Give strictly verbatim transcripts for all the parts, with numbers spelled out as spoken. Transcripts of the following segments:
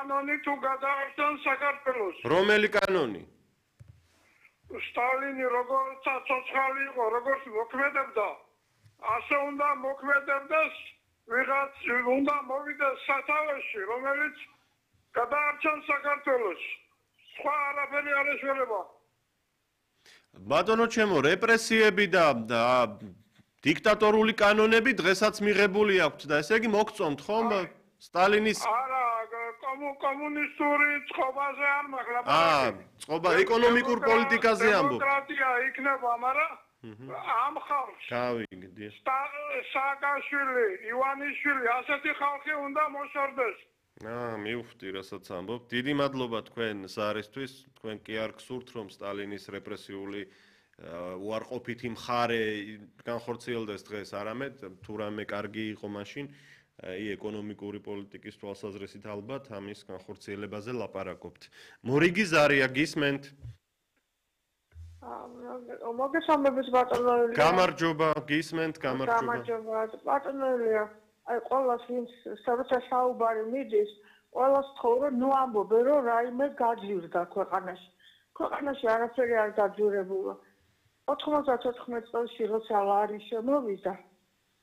კანონი თუ გადაარჩენ საქართველოს. რომელი კანონი? სტალინი როგორც ცოცხალი იყო, როგორც მოქმედებდა, ასე უნდა მოქმედებდეს ვიღაც უნდა მოვიდეს სათავეში, რომელიც გადაარჩენს საქართველოს. სხვა არაფერი არ ეშველება. ბატონო ჩემო, რეპრესიები და დიქტატორული კანონები დღესაც მიღებული აქვთ და ესე იგი მოგწონთ ხომ სტალინის არა კომუნისტური წყობაზე არ მაღლა აა წყობა ეკონომიკურ პოლიტიკაზე ამბობ დემოკრატია იქნება მაგრამ ამ ხალხს გავიგდი სააკაშვილი ივანიშვილი ასეთი ხალხი უნდა მოშორდეს აა მივხვდი რასაც ამბობ დიდი მადლობა თქვენ ზარისთვის თქვენ კი არ გსურთ რომ სტალინის რეპრესიული უარყოფითი მხარე განხორციელდეს დღეს არამედ თუ რამე კარგი იყო მაშინ აი ეკონომიკური პოლიტიკის თვალსაზრისით ალბათ ამის განხორციელებაზე ლაპარაკობთ. მორიგი ზარია გისმენთ? აა მოგესალმებით ბატონო ელია. გამარჯობა, გისმენთ, გამარჯობა. გამარჯობა, ბატონო ელია. აი ყოველას ვინც საერთო საუბარი მიდის, ყოველას თხოვრო ნუ ამბობე რომ რაიმე გაძვირდა ქვეყანაში. ქვეყანაში არაფერი არ გაძვირებულა. ოთხმოცდათოთხმეტ წელს როცა ლარი შემოვიდა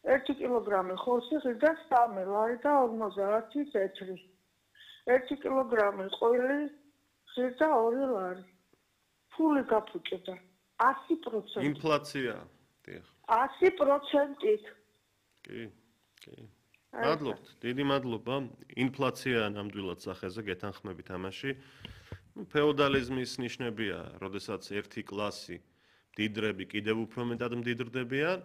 ერთი კილოგრამი ხორცი ღირდა სამი ლარი და ორმოცდაათი წეთრი. ერთი კილოგრამი ყველი ღირდა ორი ლარი. ფული გაფუჭდა ასი პროცენტი. ინფლაცია. დიახ. ასი პროცენტით. კი, კი. მადლობთ, დიდი მადლობა. ინფლაცია ნამდვილად სახეზე გეთანხმებით ამაში. ფეოდალიზმის ნიშნებია, როდესაც ერთი კლასი მდიდრები კიდევ უფრო მეტად მდიდრდებიან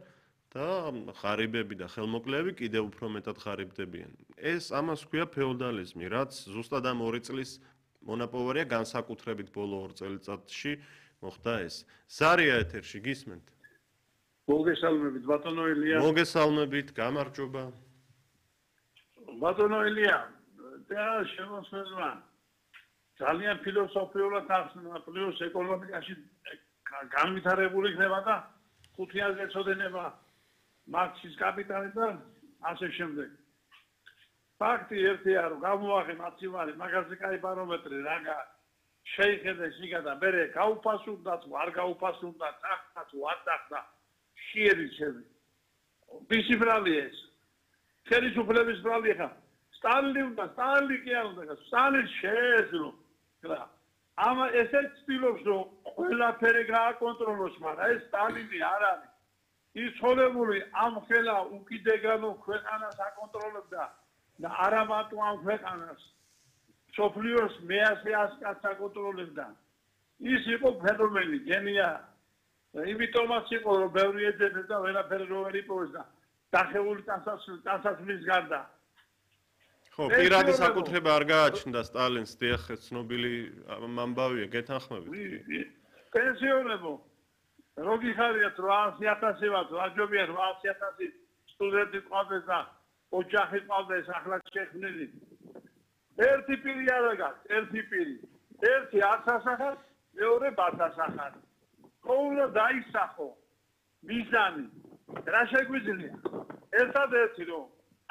და ღარიბები და ხელმოკლეები კიდევ უფრო მეტად ღარიბდებიან. ეს ამას ქვია ფეოდალიზმი, რაც ზუსტად ამ ორი წლის მონაპოვარია განსაკუთრებით ბოლო ორ წელიწადში მოხდა ეს. ზარია ეთერში გისმენთ? მოგესალმებით ბატონო ელია. მოგესალმებით, გამარჯობა. ბატონო ელია, და შემოსვლება ძალიან ფილოსოფიურად ახსნა, პლუს ეკონომიკაში განვითარებული იქნება და ხუთიანზე ეწოდება მარქსის კაპიტალი და ასე შემდეგ. ფაქტი ერთია რომ გამოახე მაცივარი მაგაზე კაი ბარომეტრი რაღა შეიხედეს იგა და მე გაუფასურდა თუ არ გაუფასურდა წახდა თუ არ წახდა შეერიცები. ვისი ბრალი ეს? ხელისუფლების ბრალი ხა სტალინი უნდა სტალინი კი არ უნდა სტალინი შეეძლო. რა ამა ესეც ცდილობს რომ ყველაფერი გააკონტროლოს, მაგრამ ეს სტალინი არ არის. ის ცოლებული ამ ხელა უკიდეგანო ქვეყანას აკონტროლებდა და არა მარტო ამ ქვეყანას სოფლიოს მეასე ასკაც აკონტროლებდა. ის იყო ფენომენი, გენია. იმიტომაც იყო რომ ბევრი ეძებდა და ვერაფერი რო ვერ იპოვეს და დახეული ტანსაცმლის გარდა. ხო, პირადი საკუთრება არ გააჩნდა სტალინს, დიახ, ცნობილი ამბავია, გეთანხმებით. პენსიონერებო როგორი ხარიათ რვაასი ათასი ვართ, ვაჯობია რვაასი ათასი სტუდენტი ყავდეს და ოჯახი ყავდეს ახლა შექმნილი. ერთი პირი არა გაქვს, ერთი პირი. ერთი არც ასახარ, მეორე ბათ ასახარ. ხო უნდა დაისახო მიზანი. რა შეგვიძლია? ერთადერთი რომ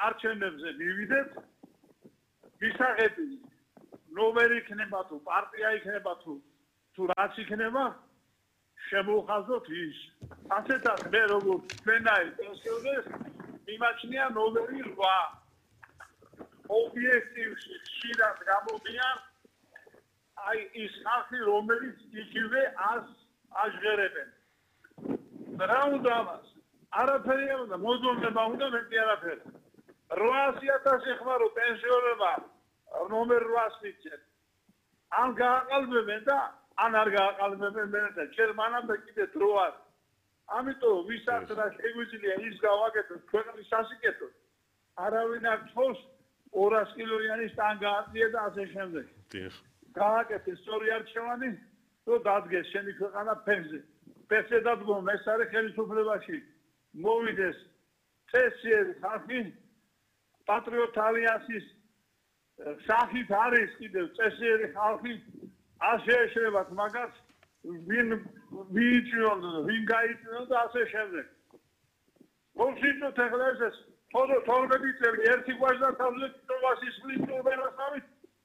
არჩევნებზე მივიდეთ, ვისაღები ნომერი იქნება თუ პარტია იქნება თუ თუ რაც იქნება შემოვხაზოთ ის. ასეთად მე როგორ ჩვენაი პენსიონერს მიმაჩნია ნომერი რვა. ობიექტივში ხშირად გამოდიან აი ის ხალხი რომელიც იგივე ას აჟღერებენ. რა უნდა ამას? არაფერი არ უნდა, მოძონება უნდა მეტი არაფერი. რვაასი ათასი ხმარო პენსიონერმა ნომერ რვას მიცეთ. ან გააყალბებენ და ან არ გააყალბებენ მერე ჯერ მანამდე კიდე დრო არის. ამიტომ ვისაც რა შეგვიძლია ის გავაკეთოთ ქვეყნის სასიკეთოდ. არავინ არ თხოვს ორას კილოიანი სტანგა აწია და ასე შემდეგ. დიახ. გააკეთე სწორი არჩევანი, რომ დადგეს შენი ქვეყანა ფენზე. ფენზე დადგომ ეს არის ხელისუფლებაში. მოვიდეს წესიერი ხალხი პატრიოტ ალიანსის სახით არის კიდევ წესიერი ხალხი ასე ეშრებათ მაგას ვინ ვიჭიონ ვინ გაიწიონ და ასე შემდეგ. მოვშიჭოთ ახლა ეს თორე თორმეტი წელი ერთი გვაჟდა თავზე ტოვასის ფლიტო ვერასავით